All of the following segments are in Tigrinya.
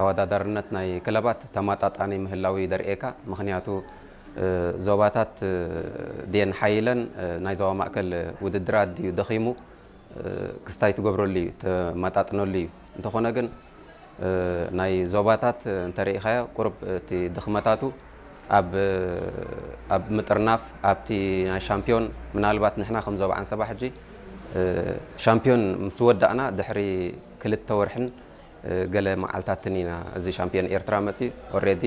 ተወዳዳርነት ናይ ክለባት ተማጣጣኒ ምህላው እዩ ደርእየካ። ምኽንያቱ እ፣ ዞባታት እ፣ ድየን ሓይለን እ፣ ናይ ዞባ ማእከል ውድድራት ድዩ ደኺሙ እ፣ ክስታይ ትገብረሉ እዩ፣ ተማጣጥነሉ እዩ። እንተኾነ ግን እ፣ ናይ ዞባታት እ፣ እንተርኢኻዮ ቁሩብ እቲ ድኽመታቱ ኣብ እ፣ ኣብ ምጥርናፍ ኣብቲ ናይ ሻምፒዮን ምናልባት ንሕና ከም ዞባ ዓንሰባ ሕጂ እ፣ ሻምፒዮን ምስ ወዳእና ድሕሪ ክልተ ወርሕን እ፣ ገለ መዓልታትን ኢና እዚ ሻምፒዮን ኤርትራ መጺኡ። ኦሬዲ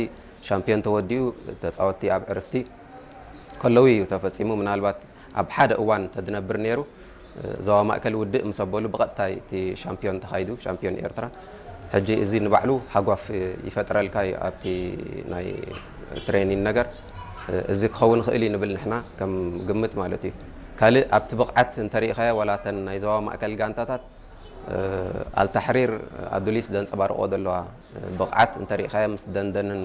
ሻምፒዮን ተወዲኡ፣ ተጻወትቲ ኣብ ዕርፍቲ ከለዉ እዩ ተፈጺሙ። ምናልባት ኣብ ሓደ እዋን ተድነብር ነይሩ፣ እ፣ ዞባ ማእከል ውድእ ምስ ኣበሉ ብቐጥታ እቲ ሻምፒዮን ተኻይዱ፣ ሻምፒዮን ኤርትራ። ሕጂ እዚ ንባዕሉ ሃጓፍ ይፈጥረልካ እዩ ኣብቲ ናይ ትሬኒን ነገር። እ፣ እዚ ክኸውን ይኽእል እዩ ንብል ንሕና ከም ግምት ማለት እዩ። ካልእ ኣብቲ ብቕዓት እንተሪኢኻዮ ዋላ እተን ናይ ዞባ ማእከል ጋንታታት እ፣ ኣልታሕሪር ኣዱሊስ ዘንጸባርቆ ዘለዋ እ፣ ብቕዓት እንተሪኢኻዮ ምስ ደንደንን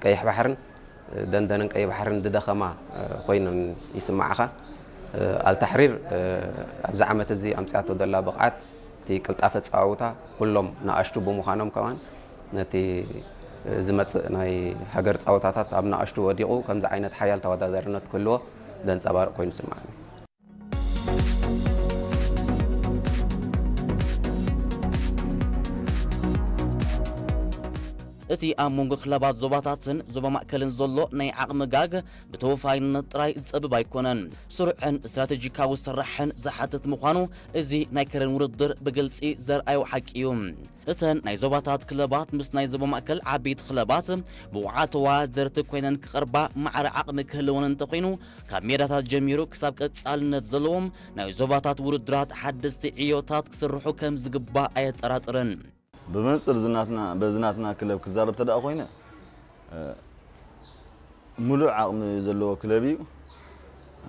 ቀይሕ ባሕርን እ፣ ደንደንን ቀይሕ ባሕርን ዝደኸማ እ፣ ኮይነን ይስምዓኻ። እ፣ ኣልታሕሪር እ፣ ኣብዚ ዓመት እዚ ኣምጺኣቶ ዘላ ብቕዓት እቲ ቅልጣፈ ጸዋውታ ኩሎም ንኣሽቱ ብምዃኖም ከማን ነቲ እ፣ ዝመጽእ ናይ ሃገር ጸወታታት ኣብ ንኣሽቱ ወዲቑ ከምዚ ዓይነት ሓያል ተወዳዳርነት ክህልዎ ዘንጸባርቕ ኮይኑ ይስምዓኒ። እቲ ኣብ መንጎ ክለባት ዞባታትን ዞባ ማእከልን ዘሎ ናይ ዓቕሚ ጋግ ብተወፋይነት ጥራይ ዝጸብብ ኣይኮነን። ስሩዕን ስትራተጂካዊ ስራሕን ዝሓትት ምዃኑ እዚ ናይ ከረን ውድድር ብግልጺ ዘርኣዮ ሓቂ እዩ። እተን ናይ ዞባታት ክለባት ምስ ናይ ዞባ ማእከል ዓበይቲ ክለባት ብቑዓት ተወዳደርቲ ኮይነን ክቐርባ ማዕረ ዓቕሚ ክህልወን እንተኾይኑ ካብ ሜዳታት ጀሚሩ ክሳብ ቀጻልነት ዘለዎም ናይ ዞባታት ውድድራት ሓደስቲ ዕዮታት ክስርሑ ከም ዝግባእ ኣየጠራጥርን። ብመንፅር ዝናትና በዚ ናትና ክለብ ክዛረብ ተደኣ ኮይነ እ፣ ሙሉእ ዓቕሚ ዘለዎ ክለብ እዩ።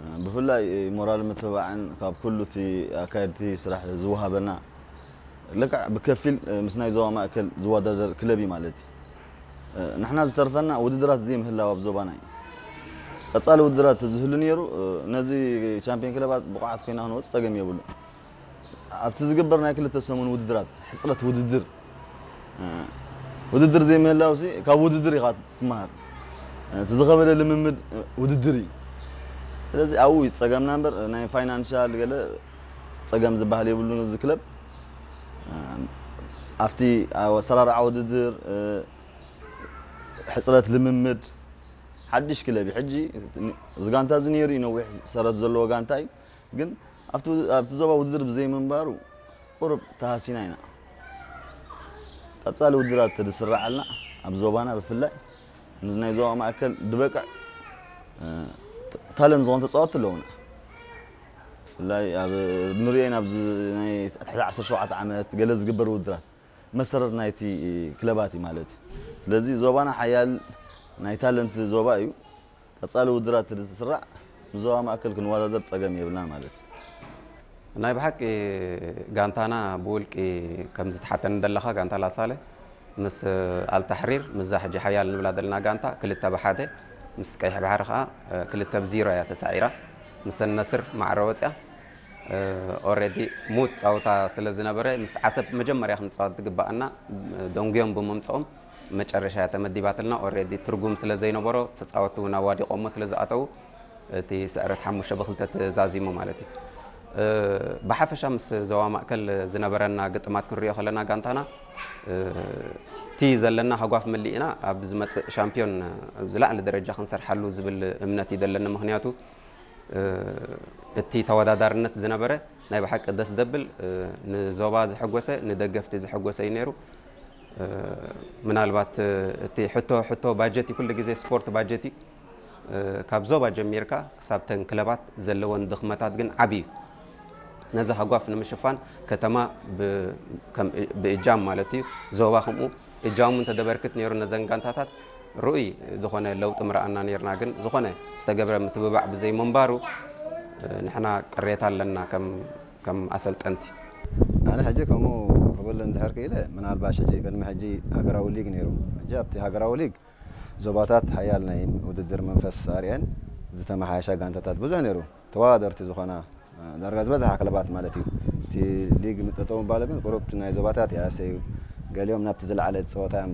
እ፣ ብፍላይ ሞራል ምትብባዕን ካብ ኩሉ እቲ ኣካየድቲ ስራሕ ዝወሃበና ልክዕ ብከፊል እ፣ ምስ ናይ ዞባ ማእከል ዝወዳደር ክለብ እዩ ማለት እዩ። እ፣ ንሕና ዝተርፈና ውድድራት ዘይምህላው ኣብ ዞባና እዩ። ቀፃሊ ውድድራት ተዝህሉ ነይሩ እ፣ ነዚ ቻምፒዮን ክለባት ብቑዓት ኮይና ክንወፅ ፀገም የብሉ። ኣብቲ ዝግበር ናይ ክልተ ሰሙን ውድድራት ሕፅረት ውድድር እ፣ ውድድር ዘይምህላው ሲ ካብ ውድድር ኢኻ ትመሃር። እ፣ እቲ ዝኸበደ ልምምድ እ፣ ውድድር እዩ። ስለዚ ኣብኡ እዩ ፀገምና እምበር ናይ ፋይናንሻል ገለ ፀገም ዝበሃል የብሉን። እዚ ክለብ እ፣ ኣብቲ ኣብ ኣሰራርዓ ውድድር እ፣ ሕፅረት ልምምድ ሓድሽ ክለብ እዩ። ሕጂ እዚ ጋንታ እዚ ነይሩ እዩ ነዊሕ ሰረት ዘለዎ ጋንታ እዩ። ግን ኣብቲ ኣብቲ ዞባ ውድድር ብዘይምንባሩ ቁሩብ ተሃሲና ኢና። ቀፃሊ ውድድራት ተዝስራዓልና ኣብ ዞባና ብፍላይ ምስ ናይ ዞባ ማእከል ዝበቅዕ እ፣ ታለንት ዝኾኑ ተፃወትቲ ኣለውና። ብፍላይ ኣብ ንሪኦን ኣብዚ ናይ ትሕቲ ዓሰርተ ሸውዓተ ዓመት ገለ ዝግበር ውድድራት መሰረት ናይቲ ክለባት እዩ ማለት እዩ። ስለዚ ዞባና ሓያል ናይ ታለንት ዞባ እዩ። ቀፃሊ ውድድራት ዝስራዕ ምስ ዞባ ማእከል ክንወዳደር ፀገም የብልናን ማለት እዩ። ናይ ብሓቂ ጋንታና ብውልቂ ከም ዝተሓተኒ ዘለኻ ጋንታ ላሳለ ምስ ኣልታሕሪር ምስዛ ሕጂ ሓያል ንብላ ዘለና ጋንታ ክልተ ብሓደ ምስ ቀይሕ ባሕሪ ከዓ ክልተ ብዚሮ እያ ተሳዒራ። ምስ ነስር ማዕረ ወፅያ። ኦረዲ ሙት ፃውታ ስለ ዝነበረ ምስ ዓሰብ መጀመርያ ክንፃወት ዝግባኣና ደንጉዮም ብምምፅኦም መጨረሻ እያ ተመዲባትልና። ኦረዲ ትርጉም ስለ ዘይነበሮ ተፃወትቲ እውን ኣዋዲቆሞ ስለ ዝኣተዉ እቲ ስዕረት ሓሙሽተ ብክልተ ተዛዚሙ ማለት እዩ። ብሓፈሻ ምስ ዞባ ማእከል ዝነበረና ግጥማት ክንሪኦ ከለና ጋንታና እቲ ዘለና ሃጓፍ መሊእና ኣብ ዝመፅእ ሻምፒዮን ዝላዕሊ ደረጃ ክንሰርሓሉ ዝብል እምነት እዩ ዘለኒ። ምክንያቱ እቲ ተወዳዳርነት ዝነበረ ናይ ብሓቂ ደስ ዘብል ንዞባ ዘሐጎሰ ንደገፍቲ ዘሐጎሰ እዩ ነይሩ። ምናልባት እቲ ሕቶ ሕቶ ባጀት እዩ፣ ኩሉ ግዜ ስፖርት ባጀት እዩ። ካብ ዞባ ጀሚርካ ክሳብ ተን ክለባት ዘለወን ድኽመታት ግን ዓብዪ እዩ። ነዚ ሃጓፍ ንምሽፋን ከተማ ብ- ከም- ብእጃም ማለት እዩ ዞባ ከምኡ እጃሙ እንተደበርክት ነይሩ ነዘን ጋንታታት ርኡይ ዝኾነ ለውጢ ምረኣና ነይርና። ግን ዝኾነ ዝተገብረ ምትብባዕ ብዘይ ምንባሩ ንሕና ቅሬታ ኣለና ከም ከም ኣሰልጠንቲ። ኣነ ሕጂ ከምኡ ክብል እንድሕር ክኢለ ምናልባሽ ሕጂ ቅድሚ ሕጂ ሃገራዊ ሊግ ነይሩ። ሕጂ ኣብቲ ሃገራዊ ሊግ ዞባታት ሓያል ናይ ውድድር መንፈስ ኣርእየን ዝተመሓየሻ ጋንታታት ብዙሕ ነይሩ። ተወዳደርቲ ዝኾና ዳርጋ ዝበዝሓ ክለባት ማለት እዩ። እቲ ሊግ ጠጠው ምባሉ ግን ቁሩብ ናይ ዞባታት ይሃሰ እዩ። ገሊኦም ናብቲ ዝለዓለ ፀወታ እዮም